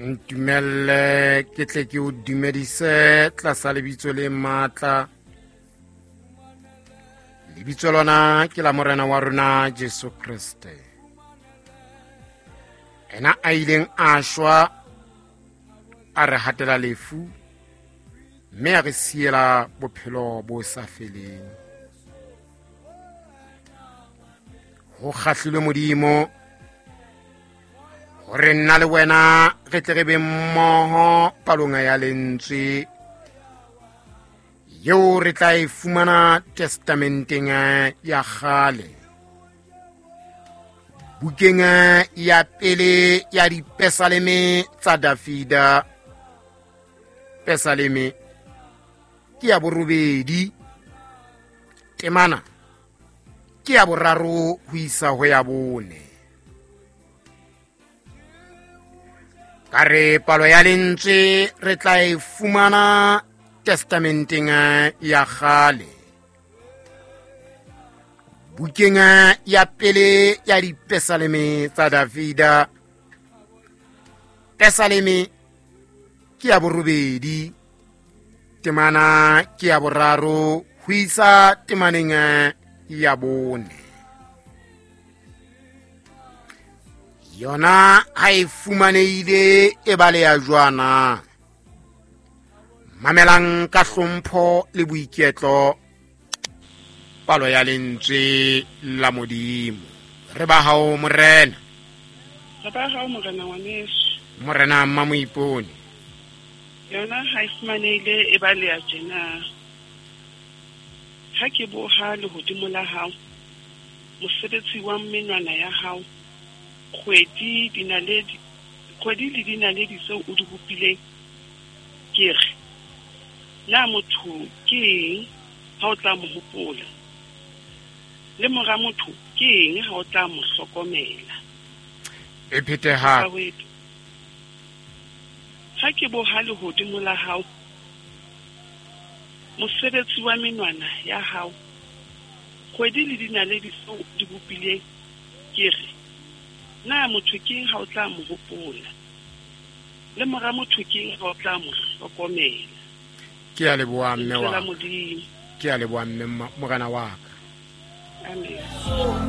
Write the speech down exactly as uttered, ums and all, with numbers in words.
Ntumelle ke tle ke o dumedise tlasa lebitso le matla. Lebitso lona ke la Morena wa rona Jesu Kriste. Ena a ileng a shwa a re hatela lefu mme a re siela bophelo bo sa feleng. Ho kgahlilwe Modimo hore nna le wena re tle re be mmoho palong ya lentswe eo re tla e fumana testamenteng ya kgale, bukeng ya pele ya dipesaleme tsa Davida. Pesaleme ke ya borobedi, temana ke ya boraro ho isa ho ya bone. Ka re palo ya lentswe re tla e fumana testamenteng ya kgale, bukeng ya pele ya dipesaleme tsa Davida. Pesaleme ke ya borobedi, temana ke ya boraro ho isa temaneng ya bone. Yona ha e fumanehile e baleha jwana. Mamelang ka hlompho le boiketlo palo ya lentswe la Modimo. Re ba hao Morena. Re ba hao Morena ngwaneso. Morena Mmamoipone. Yona ha e fumanehile e baleha tjena. Ha ke boha lehodimo la hao, mosebetsi wa menwana ya hao, kgwedi dinaledi, kgwedi le dinaledi tseo o di bopileng, ke re, na motho ke eng ha o tla mo hopola? Le mora motho ke eng ha o tla mo hlokomela? E phete hape. Ha ke boha lehodimo la hao, mosebetsi wa menwana ya hao, kgwedi le dinaledi tseo o di bopileng, ke re, na motho ke eng ha o tla mo hopola? Le mora motho ke eng ha o tla mo hlokomela? Ke a leboha mme wa ka. Ke a leboha mme Morena wa ka. Amen.